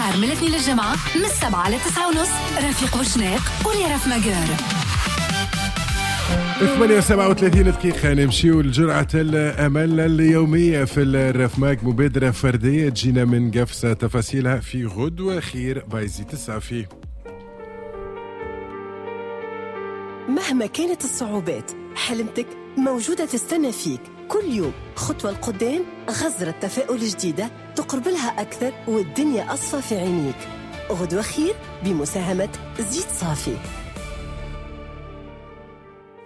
نهار من الاثنين للجمعة من 7 ل 9:30 رفيق بوشناق ولي ماجر. 8:37 دقيقة نمشيو لجرعة الأمل اليومية في الرفماك، مبادرة فردية تجينا من قفصة، تفاصيلها في غدوة خير بايزي 9 فيه. مهما كانت الصعوبات حلمتك موجودة تستنى فيك كل يوم، خطوة لقدام، غزرة تفاؤل جديدة تقرب لها أكثر والدنيا أصفى في عينيك. غدوة خير بمساهمة زيت صافي.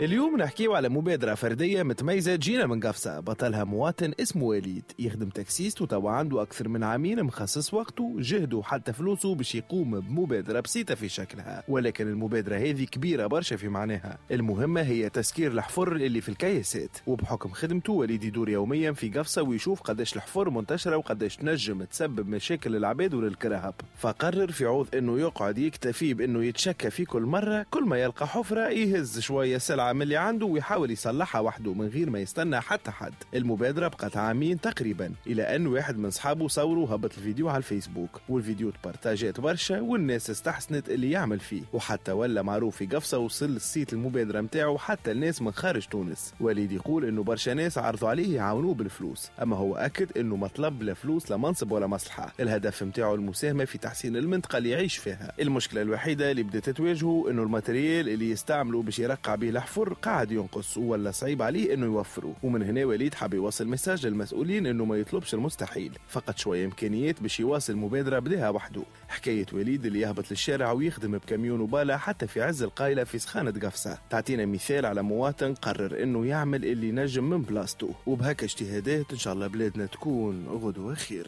اليوم نحكيو على مبادرة فردية متميزة جينا من قفصة، بطلها مواطن اسمه وليد، يخدم taxiste وتوا عنده أكثر من عامين مخصص وقته جهده حتى فلوسه باش يقوم بمبادرة بسيطة في شكلها، ولكن المبادرة هذه كبيرة برشا في معناها. المهمة هي تسكير الحفر اللي في الكياسات، وبحكم خدمته وليد يدور يوميا في قفصة ويشوف قداش الحفر منتشرة وقداش تنجم تسبب مشاكل للعباد وللكرهب، فقرر في عوض انه يقعد يكتفي بانه يتشكى في كل مرة، كل ما يلقى حفرة يهز شوية سلعة من اللي عنده ويحاول يصلحها وحده من غير ما يستنى حتى حد. المبادرة بقت عامين تقريبا، إلى أن واحد من صحابه صوره هبط الفيديو على الفيسبوك، والفيديو تبارتاجات برشا والناس استحسنت اللي يعمل فيه، وحتى ولا معروف في قفصة وصل الصيت المبادرة متاعه حتى الناس من خارج تونس. وليد يقول إنه برشا ناس عرضوا عليه يعاونوه بالفلوس، أما هو أكد إنه ما طلب لا فلوس لا منصب ولا مصلحة، الهدف متاعه المساهمة في تحسين المنطقة اللي يعيش فيها. المشكلة الوحيدة اللي بدأت تواجهه إنه ال matériel اللي يستعمله باش يرقع به الحفر قاعد ينقص ولا صعيب عليه انه يوفره، ومن هنا وليد حاب يوصل message للمسؤولين انه ما يطلبش المستحيل، فقط شوية امكانيات باش يواصل مبادرة بدها وحده. حكاية وليد اللي يهبط للشارع ويخدم بكاميون وباله حتى في عز القايله في سخانه قفصه تعطينا مثال على مواطن قرر انه يعمل اللي نجم من بلاصته، وبهكا اجتهادات ان شاء الله بلادنا تكون غدوه خير.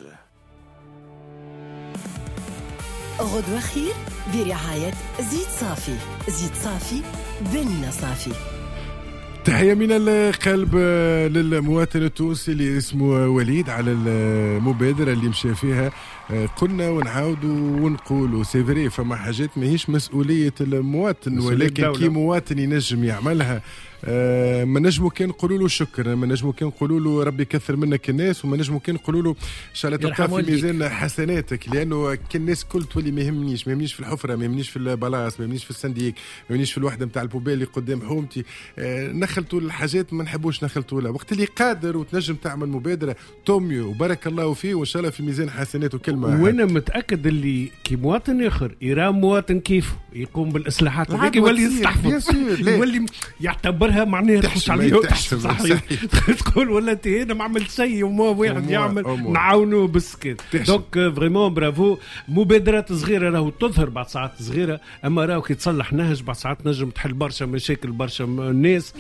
غدوة خير برعاية زيت صافي. زيت صافي بن صافي. تحية من القلب للمواطن التونسي اللي اسمه وليد على المبادرة اللي مشى فيها. قلنا ونعاودوا ونقولوا c'est vrai فما حاجات ماهيش مسؤولية المواطن، ولكن كي مواطن ينجم يعملها ما نجمو كان نقولوا له شكرا، ما نجمو كان نقولوا له ربي يكثر منك الناس، وما نجمو كان نقولوا له ان شاء الله تلقى في ميزان حسناتك، لانه كي الناس كل تولي ما يهمنيش، ما يهمنيش في الحفرة، ما يهمنيش في البلاص، ما يهمنيش في ال syndic، ما يهمنيش في الوحدة نتاع ال poubelle اللي قدام حومتي. نخلطوا الحاجات ما نحبوش نخلطوا لها. وقت اللي قادر وتنجم تعمل مبادرة tant mieux وبارك الله فيه وان شاء الله في ميزان حسناته. كلمة وانا متاكد اللي كي مواطن اخر يرى مواطن كيف يقوم بالاصلاحات هذيك يولي يستحفظ، يولي يعتبر معناها تخش عليه صحيح تقول ولا انت هنا ما عملت شيء وما واحد يعمل نعاونوه بالسكت. donc vraiment bravo. مبادرات صغيرة راهو تظهر بعد ساعات صغيرة، اما راهو كي تصلح نهج بعد ساعات نجم تحل برشا مشاكل برشا ناس.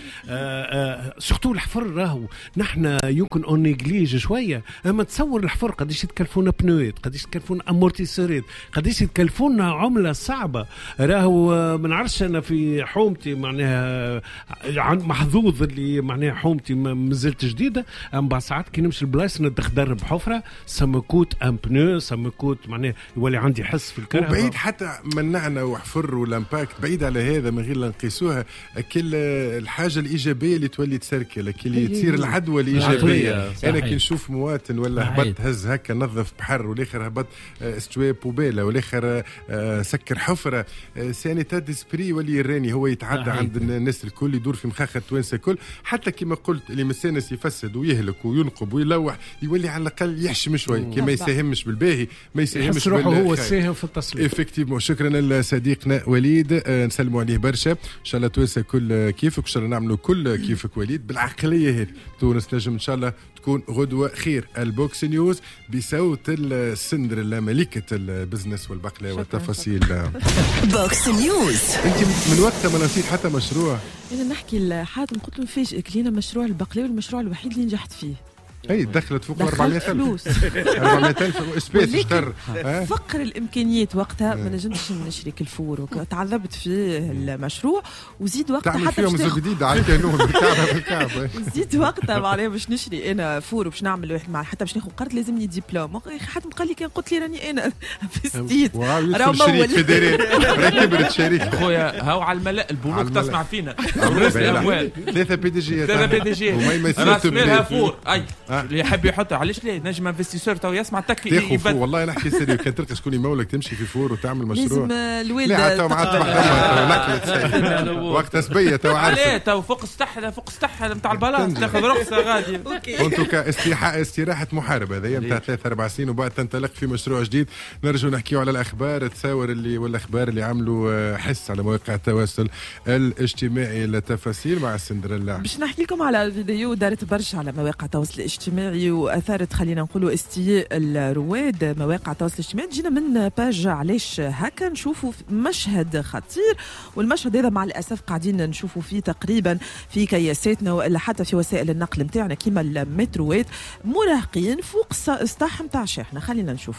surtout الحفر راهو نحن يمكن on néglige شوية، اما تصور الحفر قداش يتكلفونا بنوات، قداش يتكلفونا amortisseur ات، قداش يتكلفونا عمله صعبة. راهو ما نعرفش انا في حومتي معناها محظوظ اللي معناها حومتي مازلت جديدة، اما بعد ساعات كي نمشي البلايص نتخدر بحفره ça me coûte un pneu، ça me coûte معناها يولي عندي حس في الكرهبة. وبعيد حتى منعنا وحفر وال impact بعيد على هذا من غير لا نقيسوها، كل الحاجة الايجابية اللي تولي تسركل اللي تصير العدوى الايجابية. انا كي نشوف مواطن ولا هبط هز هكا نظف بحر، والاخر هبط استوى poubelle، والاخر سكر حفره، c'est un état d'esprit ولي يراني هو يتعدى عند الناس الكل، يدور في مخاخ التوانسة الكل. حتى كما قلت اللي مسانس يفسد ويهلك وينقب ويلوح يولي على الاقل يحشم شوي، كي ما يساهمش بالباهي ما يساهمش روحه هو الساهم في التصليح. effectivement. شكرا لصديقنا وليد، نسلموا عليه برشا. ان شاء الله توانسة كل كيفك، ان شاء الله نعملوا كل كيفك وليد بالعقليه هذه. تونس نجم ان شاء الله تكون غدوه خير. ال box news بصوت السندريلا ملكه ال business والبقله والتفاصيل. box news. انت من وقتها ما نسيت حتى مشروع. انا نحكي لحاتم قلت له فاجئك لينا مشروع البقلاوه، المشروع الوحيد اللي نجحت فيه. اي دخلت فوق 400,000 400,000 espèces اشتر. فقر الامكانيات وقتها ما نجمتش نشري ال four، تعذبت في المشروع، وزيد وقتها حتى فيهم جديد على الكانون بالكعبة بالكعبة. وزيد وقتها معناها باش نشري انا four وباش نعمل واحد مع حتى باش ناخذ قرض لازمني دبلوم. حتى قال لي كان قلت لي راني انا في ستيت راه مول كبرت شريك خويا هاو على الملأ البنوك تسمع فينا رؤوس الاموال 3 PDG 3 PDG راس مالها four. اي اللي يحب يحط علاش لا نجم investisseur تو يسمع تك يبد. والله نحكي sérieux، كان تلقى شكون يمولك تمشي في four وتعمل مشروع لازم الوالدة. لا تو مع وقت سبية تو عارف لا تو فوق السطح، فوق السطح نتاع البلاص تاخذ رخصه غادي. en tout cas استراحة محارب هذايا نتاع 3-4 سنين وبعد تنطلق في مشروع جديد. نرجو نحكيو على الاخبار تصاور اللي والاخبار اللي عملوا حس على مواقع التواصل الاجتماعي. التفاصيل مع سندريلا. باش نحكي لكم على فيديو دارت برشا على مواقع التواصل الاجتماعي واثارت خلينا نقولوا استياء الرواد مواقع التواصل الاجتماعي. جينا من page علاش هكا نشوفوا مشهد خطير، والمشهد هذا مع الاسف قاعدين نشوفوا فيه تقريبا في كياساتنا والا حتى في وسائل النقل نتاعنا كيما المتروات، مراهقين فوق سطح نتاع شاحنة. خلينا نشوف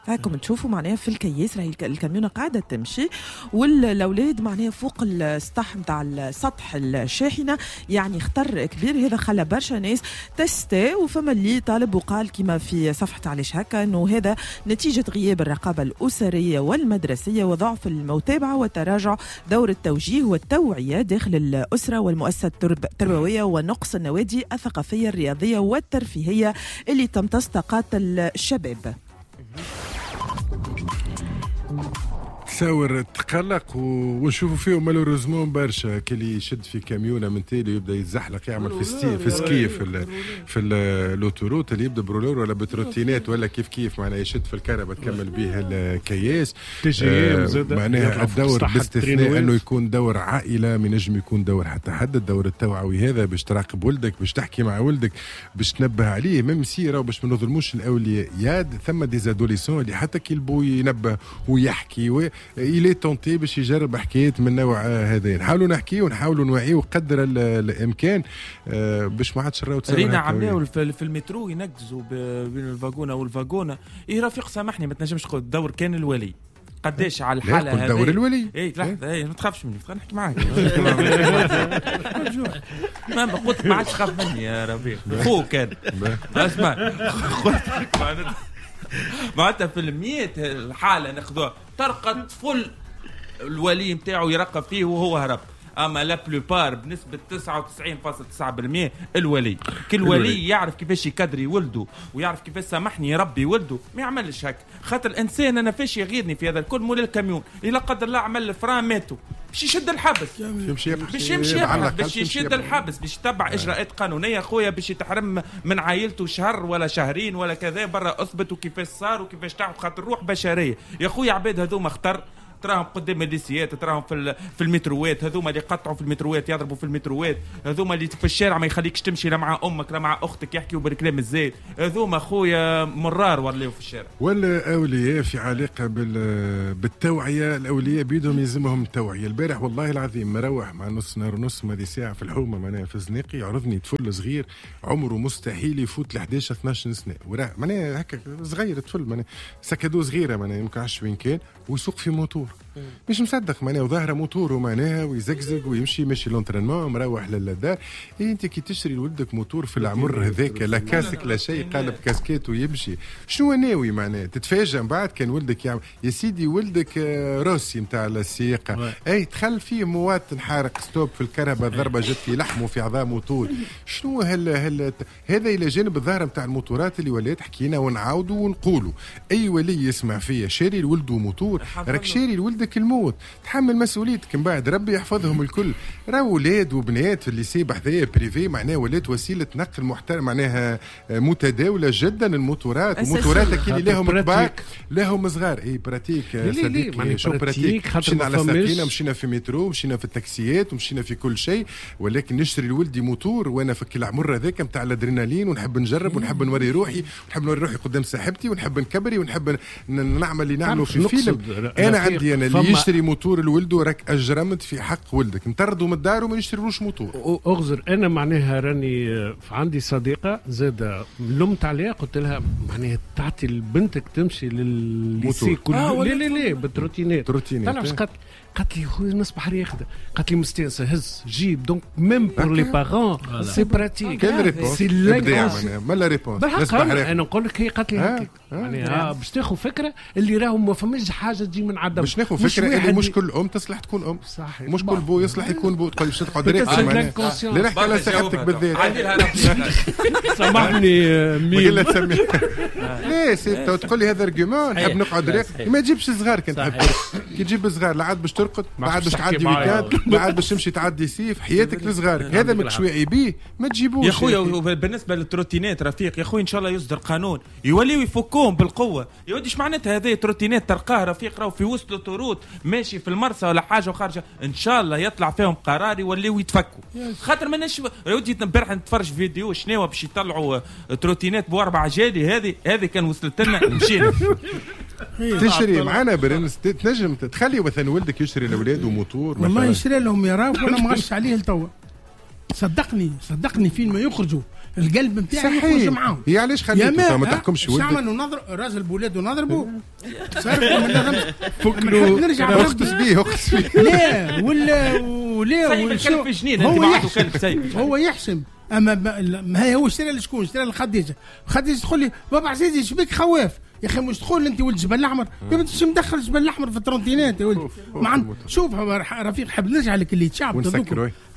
هاكم تشوفوا معناها في الكياس راهي الكاميونه قاعدة تمشي والاولاد معناها فوق السطح نتاع السطح الشاحنة، يعني خطر كبير. هذا خلى برشا ناس تستاء، وفما اللي طالب وقال كما في صفحة علاش هكا انه هذا نتيجة غياب الرقابة الاسرية والمدرسيه وضعف المتابعة وتراجع دور التوجيه والتوعية داخل الاسرة والمؤسسة التربوية ونقص النوادي الثقافية الرياضية والترفيهيه اللي تمتص طاقات الشباب. تصور تقلق ونشوفوا فيهم malheureusement برشا كلي يشد في كاميونه من تالي يبدا يتزحلق يعمل في ski في l'autoroute اللي يبدا ب roller ولا ب trottinette ولا كيف كيف معناها يشد في الكهرباء تكمل به الكياس. معناها الدور باستثناء انه يكون دور عائلة ما ينجم يكون دور حتى حد. الدور التوعوي هذا باش تراقب ولدك، باش تحكي مع ولدك، باش تنبه عليه même si راهو باش ما نظلموش الاولياء. يا ثم des adolescents اللي حتى كي البو ينبه ويحكي il est tenté باش يجرب حكايات من نوع هذا. نحاولوا نحكي ونحاولوا نوعية قدر الامكان باش ما عادش نراو. رينا عملناو في المترو ينقزوا بين الفاغونه والفاغونه. اي رفيق سامحني ما تنجمش تقول الدور كان الولي قداش على الحالة هذه دور الولي. اي لحظة، اي ما تخافش مني، نحكي معاك. ما قلت ما عادش خاف مني يا رفيق، خوك كان اسمع قلت معناتها في المية الحالة ناخذوها ترقى طفل الولي نتاعو يرقب فيه وهو هرب. اما la plupart بنسبة 99.9% الولي، كل ولي يعرف كيفاش يكدري ولده ويعرف كيفاش سامحني يربي ولده، ما يعملش هكا. خاطر الانسان انا فاش يغيرني في هذا الكل مول الكاميون لا قدر الله عمل ال frein ماتوا باش يشد الحبس، باش يمشي باش يشد الحبس، باش يتبع اجراءات قانونية خويا، باش يتحرم من عائلته شهر ولا شهرين ولا كذا، برا اثبت وكيفاش صار وكيفاش تعب، خاطر روح بشرية يا خويا. عباد هذوما خطر، تراهم قدام الليسيات، تراهم في المتروات، هذوما اللي قطعوا في المتروات، يضربوا في المتروات، هذوما اللي في الشارع ما يخليكش تمشي لا مع امك لا مع اختك، يحكيوا بالكلام الزايد، هذوما خويا مرار ولاو في الشارع. والاولياء في علاقة بالتوعية، الاولياء بيدهم يلزمهم التوعية. البارح والله العظيم مروح مع نص نهار ونص ماضي ساعة في الحومه معناها في زنيقي، عرضني طفل صغير عمره مستحيل يفوت ل 11 12 سنة، وراه معناها هكا صغير طفل معناها sac à dos صغيرة معناها يمكن 20 كان ويسوق في موتور، مش مصدق معناها، وظاهره موتور معناها ويزقزق ويمشي ماشي l'entraînement مروح للدار. إيه انت كي تشري لولدك موتور في العمر هذاك لا casque لا شيء، قالب كاسكيت ويمشي، شنو ناوي معناها؟ تتفاجئ من بعد كان ولدك يعمل يا سيدي ولدك روسي نتاع السياقه، اي دخل فيه مواطن حارق stop في الكهرباء، ضربه جت في لحمه في عظامه طول. شنو هل هذا الى جانب الظاهرة نتاع الموتورات اللي ولات حكينا ونعاودوا ونقولوا اي ولي يسمع فيا شاري لولده موتور، راك شاري لولدك الموت، تحمل مسؤوليتك من بعد، ربي يحفظهم الكل. راهو ولاد وبنات في ال lycée بحذايا privé معناها ولات وسيلة نقل محترم معناها متداوله جدا الموتورات، الموتورات كي اللي لهم كبار لهم صغار. اي pratique صديقي، شو pratique؟ مشينا على ساقينا، مشينا في مترو، مشينا في التاكسيات، ومشينا في كل شيء، ولكن نشتري لولدي موتور وانا في العمر هذاك نتاع الادرينالين، ونحب نجرب ونحب نوري روحي، ونحب نوري روحي قدام صاحبتي، ونحب نكبري، ونحب نعمل اللي نعمله في فيلم. انا عندي انا اللي يشتري موتور لولده راك اجرمت في حق ولدك، نطرده من الدار وما نشتريلوش موتور. اغزر انا معناها راني عندي صديقه زاده لمت عليها، قلت لها معناها تعطي لبنتك تمشي للل lycée كل لا لا لا بال trottinette. تعرف قالت لي خويا نصبح راقده، قالت لي مستانسه هز جيب. donc même pour les parents c'est pratique. quelle réponse ابداع مالا réponse. انا نقول لك هي قالت لي هكاك يعني باش تاخذ فكرة اللي راهو ما فماش حاجة تجي من عدم، باش ناخذ فكرة اللي مش كل ام تصلح تكون ام، صحيح، مش كل بو يصلح يكون بو. تقول باش تقعد راقد لا نحكي على صاحبتك بالذات. سامحني مين لا c'est تقول لي هذا argument نحب نقعد راقد. ما تجيبش صغار كان تحب، كي تجيب صغار لا عاد باش ترقد، لا عاد باش تعدي week-end، لا عاد باش تمشي تعدي صيف حياتك لصغارك. هذا ماكش واعي بيه ما تجيبوش يا خويا. بالنسبة لل trottinette رفيق يا خويا ان شاء الله يصدر قانون يوليو يفكوهم بالقوة. يا ودي اش معناتها هذه trottinette تلقاه رفيق راهو في وسط l'autoroute ماشي في المرسى ولا حاجة وخارجه، ان شاء الله يطلع فيهم قرار يوليو يتفكوا. خاطر ماناش يا ودي امبارح نتفرج فيديو شنو باش يطلعوا trottinette باربع عجالي. هذه كان وصلت لنا مشينا. تشري معنا برنس، تنجم تخلي مثلا ولدك يشري لاولاده موتور. والله يشري لهم يا راف وانا مغش عليه لتوا. صدقني فين ما يخرجوا القلب نتاعي يخرج معاهم. هي علاش خليته ما تحكمش ولدك؟ عملوا نظر راجل بولاده نضربه فكروا نرجع اختص بيه اختص بيه. لا ولا ولا هو يحشم. اما ما هي هو اشترى لشكون؟ اشترى لخديجه. خديجة تقول لي بابا عزيزي شبيك خواف يا اخي، مش تقول انت ولد جبل الاحمر؟ يا بنت مدخل جبل الاحمر في ال trottinette يا ولد. شوف رفيق حاب نرجع لك اللي تشعب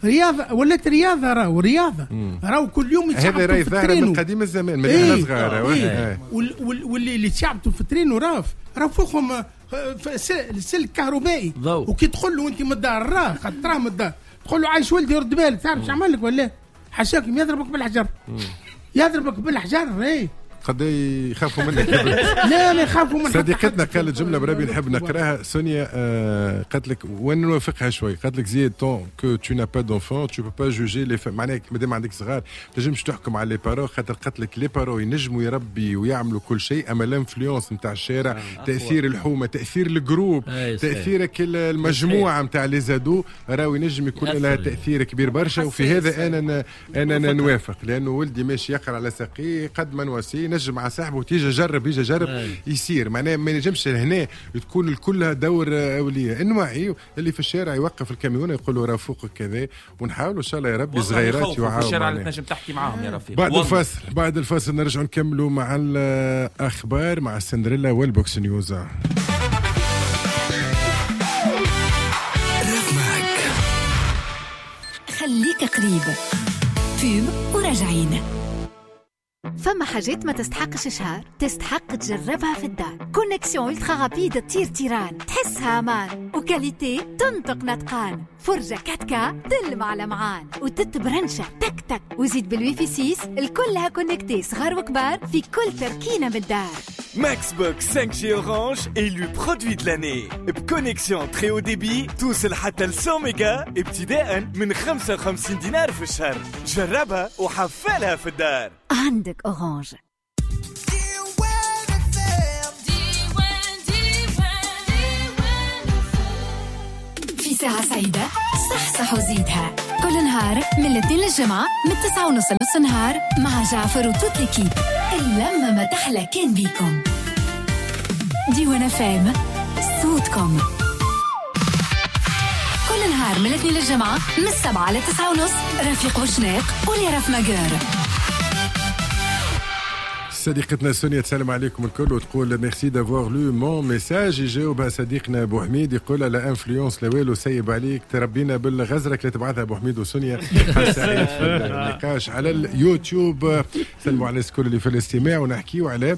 رياضة ولات رياضة، راهو رياضة راهو كل يوم يتشعبطوا في ال traîneau من قديم الزمان من احنا صغار. واللي اللي تشعبطوا في ال traîneau راهو فوقهم سلك كهربائي، وكي تدخل له انت من الدار راه خاطر من الدار تقول له عايش ولدي رد بالك، تعرف اش عمل لك ولا؟ حشاك يضربك بالحجر، يضربك بالحجر. ايه قد يخافوا منك. لا ما يخافوا من. صديقتنا قالت جملة بربي نحب نقراها سونيا، قالت لك وانا نوافقها شوي. قالت لك زيد tant que tu n'as pas d'enfants tu peux pas juger les معناها مادام عندك صغار تنجمش تحكم على les parents، خاطر قالت لك les parents ينجموا يربي ويعملوا كل شيء، اما l'influence نتاع الشارع، تاثير الحومه، تاثير ال groupe، تاثيرك المجموعة نتاع les ados راهو ينجم يكون لها تاثير كبير برشا. وفي هذا انا نوافق، لانه ولدي ماشي يقرا على ساقيه قد ما نواسيه نجم مع صاحبه وتيجي جرب يجي جرب يصير. معناها ما نجمش هنا تكون كلها دور اوليه، نوعي اللي في الشارع يوقف الكاميون يقول له راه فوقك كذا، ونحاولوا ان شاء الله يا ربي صغيرات يوعوا في الشارع اللي تنجم تحكي معاهم يا رفيق. بعد الفاصل نرجع نكملوا مع الاخبار مع السندريلا والبوكس نيوز. خليك قريب pub وراجعين. فما حاجات ما تستحقش شهر، تستحق تجربها في الدار. connexion ultra rapide تطير تيران، تحسها امان، و qualité تنطق نطقان، فرجة 4K تلمع لمعان، وتتبرنشة تك تك، وزيد بالويفي 6 الكلها connectée صغار وكبار في كل تركينة من الدار. Maxbox 5G Orange élu produit de l'année ب connexion très haut débit توصل حتى ل 100 ميجا ابتداء من 55 دينار في الشهر. جربها وحفلها في الدار. عندك Orange. في ساعة سعيدة صح صح وزيدها كل نهار من الاثنين للجمعة من 9:30 لنص النهار مع جعفر و toute l'équipe. اللمة ما تحلى كان بيكم. ديوان FM صوتكم كل نهار من الاثنين للجمعة من 7 ل 9:30. رفيق وشناق وليرف ماجر. صديقتنا سونيا تسلم عليكم الكل وتقول merci d'avoir lu mon message. يجاوبها صديقنا ابو حميد يقول la influence لا والو سيب عليك تربينا بالغزرك اللي تبعثها ابو حميد وسونيا في النقاش على اليوتيوب. سلموا على الكل اللي في الاستماع ونحكيو على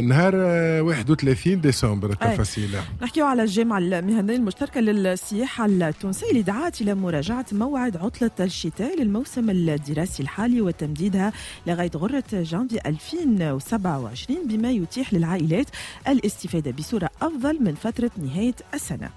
نهار 31 ديسمبر التفاصيل. نحكيو على الجامعة المهنية المشتركة للسياحة التونسية اللي دعت الى مراجعه موعد عطله الشتاء للموسم الدراسي الحالي وتمديدها لغاية غره جانفي 2027 بما يتيح للعائلات الاستفادة بصورة أفضل من فترة نهاية السنة.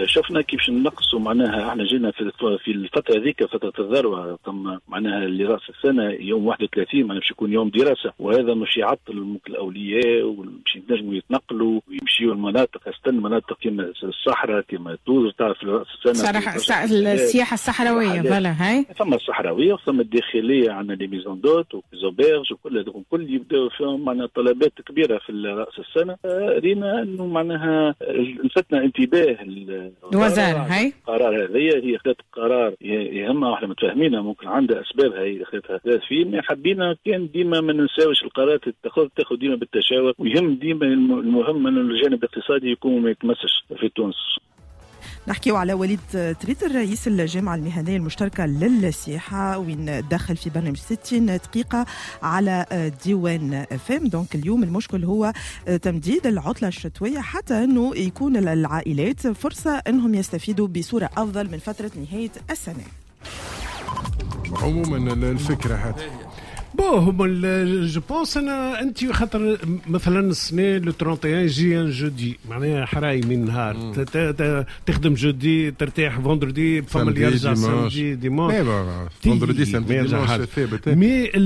شفنا كيفاش نقصوا معناها احنا جينا في الفترة هذيك فترة الذروة ثم معناها اللي راس السنة يوم 31 معناها باش يكون يوم دراسة، وهذا مش يعطل ممكن الاولياء ومش ينجموا يتنقلوا ويمشيوا المناطق، استنى مناطق كما الصحراء كما توزر تعرف راس السنة السياحة الصحراوية voilà هاي ثم الصحراوية وثم الداخلية عندنا les maisons d'hôtes و les auberges وكل هذوك الكل يبداو فيهم معناها طلبات كبيرة في راس السنة. رينا انه معناها لفتنا انتباه الوزارة هاي القرار هذايا، هي خذت قرار يهمها واحنا متفاهمينها ممكن عندها اسبابها هي خذتها فيه، حبينا كان ديما ما ننساوش القرارات تاخذ ديما بالتشاور، ويهم ديما المهم انه الجانب الاقتصادي يكون ما يتمسش في تونس. نحكيو على وليد تريتر رئيس الجامعة المهنية المشتركة للسياحة وين دخل في برنامج 60 دقيقة على ديوان FM. donc اليوم المشكل هو تمديد العطلة الشتوية حتى أنه يكون العائلات فرصة أنهم يستفيدوا بصورة أفضل من فترة نهاية السنة. عموما الفكرة حتى bon هما je pense انا انت خاطر مثلا السنة le 31 يجي un jeudi معناها حراي من نهار تخدم jeudi ترتاح vendredi فما اللي يرجع samedi dimanche vendredi samedi dimanche ثابت. mais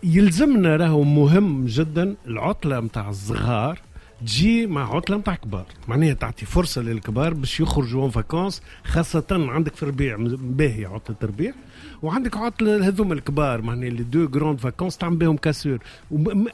يلزمنا راهو مهم جدا العطلة نتاع الصغار تجي مع عطله نتاع كبار، معناها تعطي فرصة للكبار باش يخرجوا en vacances، خاصة عندك في الربيع باهي عطله الربيع وعندك عطله هذوما الكبار معناها les deux grandes vacances تعمل بهم cassure.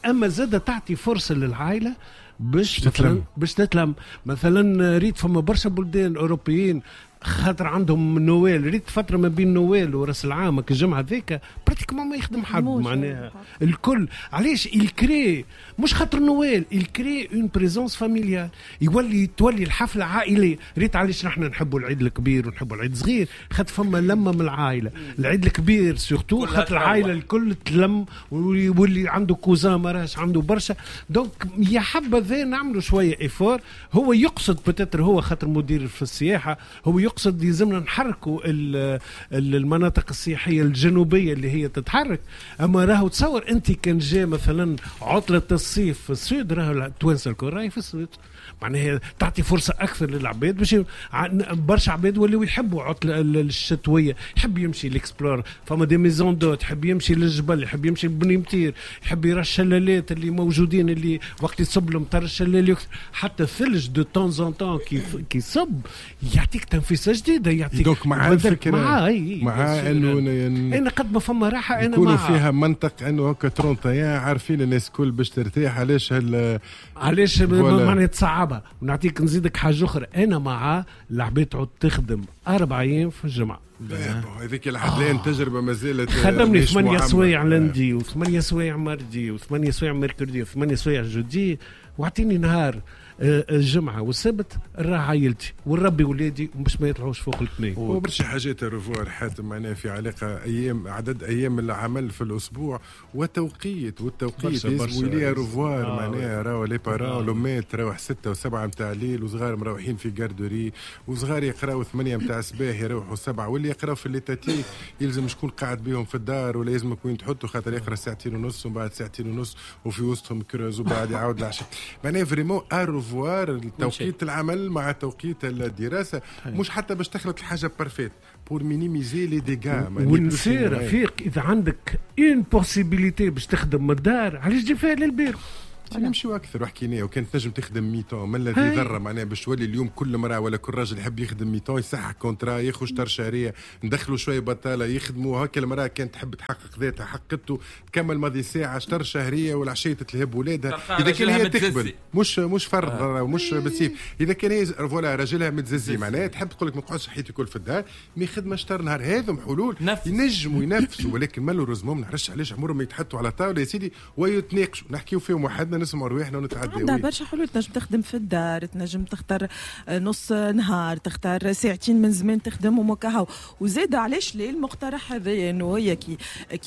اما زاده تعطي فرصة للعائلة باش تتلم باش تتلم. مثلا ريت فما برشا بلدان اوروبيين خاطر عندهم نويل، ريت فترة ما بين نويل وراس العام الجمعة ذيك pratiquement ما يخدم حد معناها الكل. علاش il crée مش خاطر Noël، il crée une présence familiale، يولي تولي الحفلة عائلية. ريت علاش نحن نحبوا العيد الكبير ونحبوا العيد الصغير، خاطر فما لمه من العائلة. العيد الكبير surtout خاطر العائلة الكل تلم واللي عنده cousin ما راهش عنده برشا. donc يا حبذا نعملوا شوية effort. هو يقصد peut-être هو خاطر مدير في السياحة هو يقصد يلزمنا نحركوا المناطق السياحية الجنوبية اللي هي تتحرك. اما راهو تصور انت كان جاء مثلا عطله الصيف في ال sud راهو التوانسة الكل راهي في ال sud، معناها تعطي فرصة اكثر للعباد باش برشا عباد ولاو يحبوا عطله الشتوية، يحب يمشي l'explore فما des maisons d'hôtes، يحب يمشي للجبل، يحب يمشي لبني مطير، يحب يرى الشلالات اللي موجودين اللي وقت يصب المطر الشلال حتى الثلج de temps en temps كي يصب يعطيك تنفيسه جديدة، يعطيك donc مع الفكرة مع انه انا قد ما فما راحة انا يكونوا فيها منطق انه هكا 31 عارفين الناس الكل باش ترتاح. علاش علاش معناها تصعبها. ونعطيك نزيدك حاجة اخرى، انا مع العباد تعود تخدم 4 ايام في الجمعة. هذيك لحد الان تجربه ما زالت. خدمني 8 سوايع lundi و8 سوايع mardi و8 سوايع mercredi و8 سوايع jeudi، واعطيني نهار الجمعة والسبت راه عائلتي ونربي ولادي باش ما يطلعوش فوق الاثنين. وبرشا حاجات revoir حاتم معناها في علاقة ايام عدد ايام العمل في الاسبوع وتوقيت والتوقيت لازم يلي revoir معناها راهو les parents لومات تروح 6 و7 نتاع الليل وصغار مروحين في garderie وصغار يقراو 8 نتاع الصباح يروحوا 7 واللي يقراو في l'étatique يلزم شكون قاعد بيهم في الدار ولا لازم وين تحطوا خاطر يقرا 2.5 ساعة ومن بعد 2.5 ساعة وفي وسطهم creuses وبعد يعاود العشاء. معناها vraiment à revoir توقيت العمل مع توقيت الدراسة، مش حتى باش تخلط الحاجة parfaite pour minimiser les dégâts. ونسي رفيق اذا عندك une possibilité باش تخدم من الدار علاش تجي فيها للبيرو؟ نمشيو اكثر وحكينا وكان تنجم تخدم mi-temps ما الذي ضر معناها باش تولي اليوم كل امراة ولا كل راجل يحب يخدم mi-temps يصحح contrat ياخذ شطر شهرية ندخلوا شوية بطاله يخدموا هكا. المراة كانت تحب تحقق ذاتها حقته تكمل ماضي ساعة شطر شهرية والعشيه تتلهب ولادها اذا كان هي تقبل مش فرض مش بالسيف. اذا كان هي voilà راجلها متززي معناها تحب تقول لك ما نقعدش حياتي الكل في الدار mais خدمة شطر نهار. هذم حلول ينجموا ينفسوا ولكن malheureusement ما نعرفش علاش عمرهم ما يتحطوا على طاولة يا سيدي ويتناقشوا نحكيو فيهم وحدنا نسمعوا رواحنا ونتعداو. عندها برشا حلول، تنجم تخدم في الدار، تنجم تختار نص نهار، تختار ساعتين من زمان تخدم ومكاهو. وزاد علاش ليه المقترح هذا انه هي كي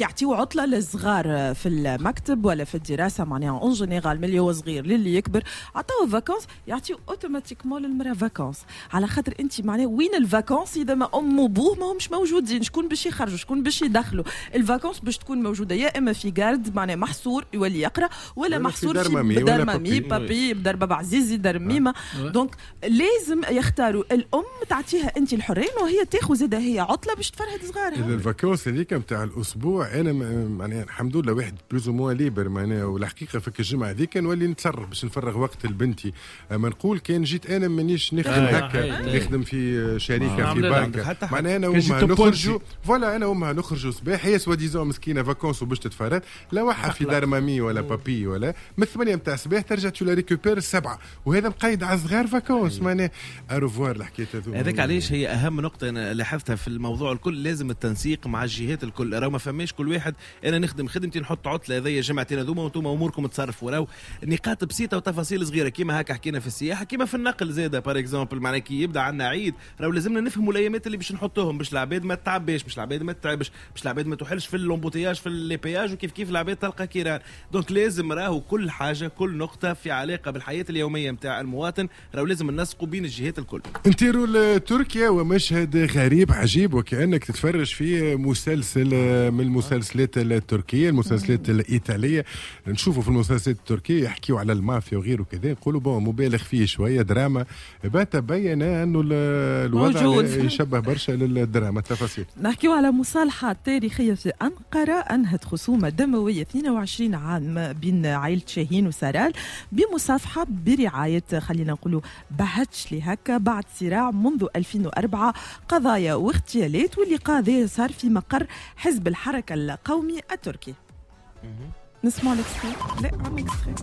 يعطيو عطله للصغار في المكتب ولا في الدراسة معناها en général من اللي هو صغير للي يكبر عطاو vacances يعطيو automatiquement للمراة vacances، على خاطر انت معناها وين ال vacances اذا ما ام وبوه ما همش موجودين؟ شكون باش يخرجوا؟ شكون باش يدخلوا؟ ال vacances باش تكون موجودة يا اما في garde معناها محصور يولي يقرا ولا محصور دار mamie papi، بدار بابا عزيزي، دار ميمه. donc لازم يختاروا الام تعطيها انت الحرية وهي تاخذ زاده هي عطله باش تفرهد صغارها. ال vacances هذيك نتاع الاسبوع انا معناها الحمد لله واحد plus ou moins libre معناها، والحقيقة فك الجمعة هذيك نولي نتصرف باش نفرغ وقت لبنتي. اما نقول كان جيت انا مانيش نخدم هكا، نخدم في شركة في بنك، معناها انا وامها نخرجوا voilà، انا وامها نخرجوا صباح، هي soi-disant مسكينه vacances وباش تتفرد، لوحها في دار mamie ولا papi ولا من 8 نتاع الصباح ترجع tu la récupères 7، وهذا مقيد على صغار vacances معناها au revoir الحكاية هذوما. هذاك علاش هي اهم نقطة انا لاحظتها في الموضوع الكل، لازم التنسيق مع الجهات الكل. راهو ما فماش كل واحد انا نخدم خدمتي نحط عطله هذيا جمعتين هذوما وانتم اموركم تصرفوا. راهو نقاط بسيطة وتفاصيل صغيرة كيما هكا حكينا في السياحة، كيما في النقل زاده par exemple، معناها كي يبدا عندنا عيد راهو لازمنا نفهموا الايامات اللي باش نحطوهم باش العباد ما تعباش، باش العباد ما تتعبش، باش العباد ما توحلش في l'embouteillage في les péages، وكيف كيف العباد تلقى كيران. donc لازم راهو كل حاجة كل نقطة في علاقة بالحياة اليومية نتاع المواطن راهو لازم ننسقوا بين الجهات الكل. نطيروا لتركيا ومشهد غريب عجيب وكانك تتفرج في مسلسل من المسلسلات التركية، المسلسلات الايطالية. نشوفوا في المسلسلات التركية يحكيوا على المافيا وغيره كذا، نقولوا bon مبالغ فيه شوية دراما، تبين انه الوضع يشبه برشا للدراما. التفاصيل نحكيوا على مصالحه تاريخية في انقرة انهت خصومه دموية 22 عام بين عائلة شاهين وسارال بمصافحه برعاية خلينا نقولوا بهتشلي هكا بعد صراع منذ 2004 قضايا واغتيالات، واللقاء ذا صار في مقر حزب الحركة القومي التركي. نسمع l'extrait؟ لا عندنا extrait،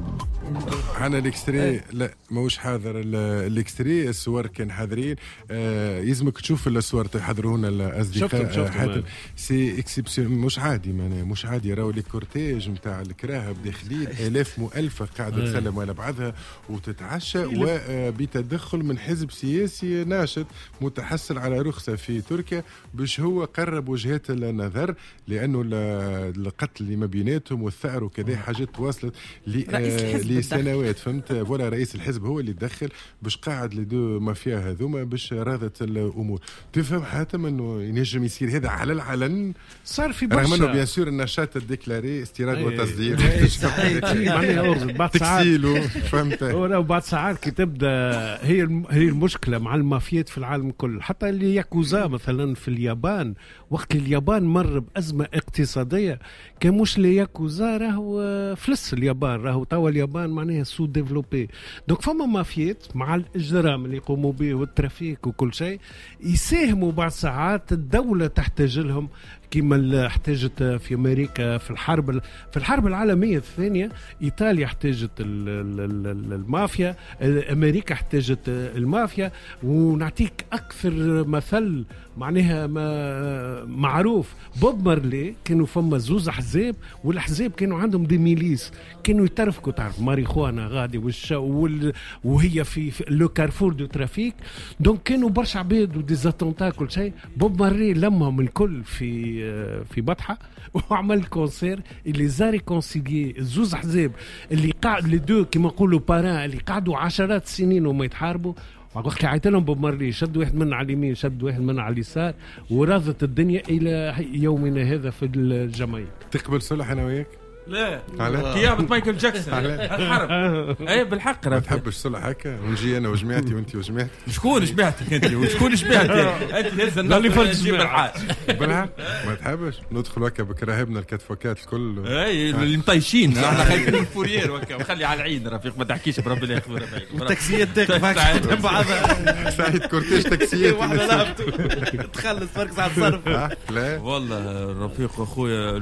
عندنا l'extrait. لا ماهوش حاضر l'extrait، الصور كان حاضرين. يلزمك تشوف الصور تحضرونا الاصدقاء. حاتم c'est exceptionnel، مش عادي معناها مش عادي. راهو les cortèges نتاع الكراهب داخلين الاف مؤلفه قاعدة تسلم على بعضها وتتعشى، وبتدخل من حزب سياسي ناشط متحصل على رخصه في تركيا باش هو قرب وجهات النظر، لانه القتل اللي ما بيناتهم والثأر وكذا حاجات تواصلت لسنوات فهمت. voilà رئيس الحزب هو اللي تدخل باش قاعد les deux mafias هذوما باش راضت الامور. تفهم حاتم انه ينجم يصير هذا على العلن؟ صار في برشا، رغم انه bien sûr النشاط ال déclaré استيراد وتصدير معناها بعد ساعات فهمت. بعد ساعات كي تبدا هي المشكلة مع المافيات في العالم كله، حتى اللي ياكوزا مثلا في اليابان وقت اليابان مر بازمه اقتصادية كان مش les yakuza راهو فلس اليابان، راهو توا اليابان معناها sous-développée. donc فما مافيات مع الاجرام اللي يقوموا به وال trafic وكل شيء يساهموا بعض ساعات الدولة تحتاج لهم كما احتاجت في امريكا في الحرب العالمية الثانية. ايطاليا احتاجت المافيا، امريكا احتاجت المافيا. ونعطيك اكثر مثل معناها معروف بوب مارلي، كانوا فما زوز احزاب والاحزاب كانوا عندهم des milices كانوا يترفكوا، تعرف ماريخوانا غادي وهي في le carrefour du trafic. donc كانوا برشا عباد و des attentats كل شيء. بوب مارلي لمهم الكل في بطحه وعمل concert اللي les a réconciliés زوز احزاب اللي قاعد les deux كيما نقولوا parrains اللي قعدوا عشرات السنين وما يتحاربوا. وقت عيط لهم بوب مارلي شد واحد من على اليمين شد واحد من على اليسار وراضت الدنيا الى يومنا هذا في الجمايك. تقبل صلح انا وياك؟ لا كيابة مايكل جاكسون الحرب. اي بالحق ما تحبش صلح هكا ونجي انا وجماعتي وانت وجماعتك. شكون جماعتك انت وشكون جماعتي انت؟ هز النص جيب الحاج بالحق ما تحبش ندخل هكا بكراهبنا الكتفوكات الكل اي اللي مطيشين احنا خايفين من ال fourrière وهكا وخلي على العين رفيق ما تحكيش بربي لا ياخذ التاكسيات تاقف بعضها سعيد cortège تاكسيات تخلص فرق على الصرف. لا والله رفيق اخويا.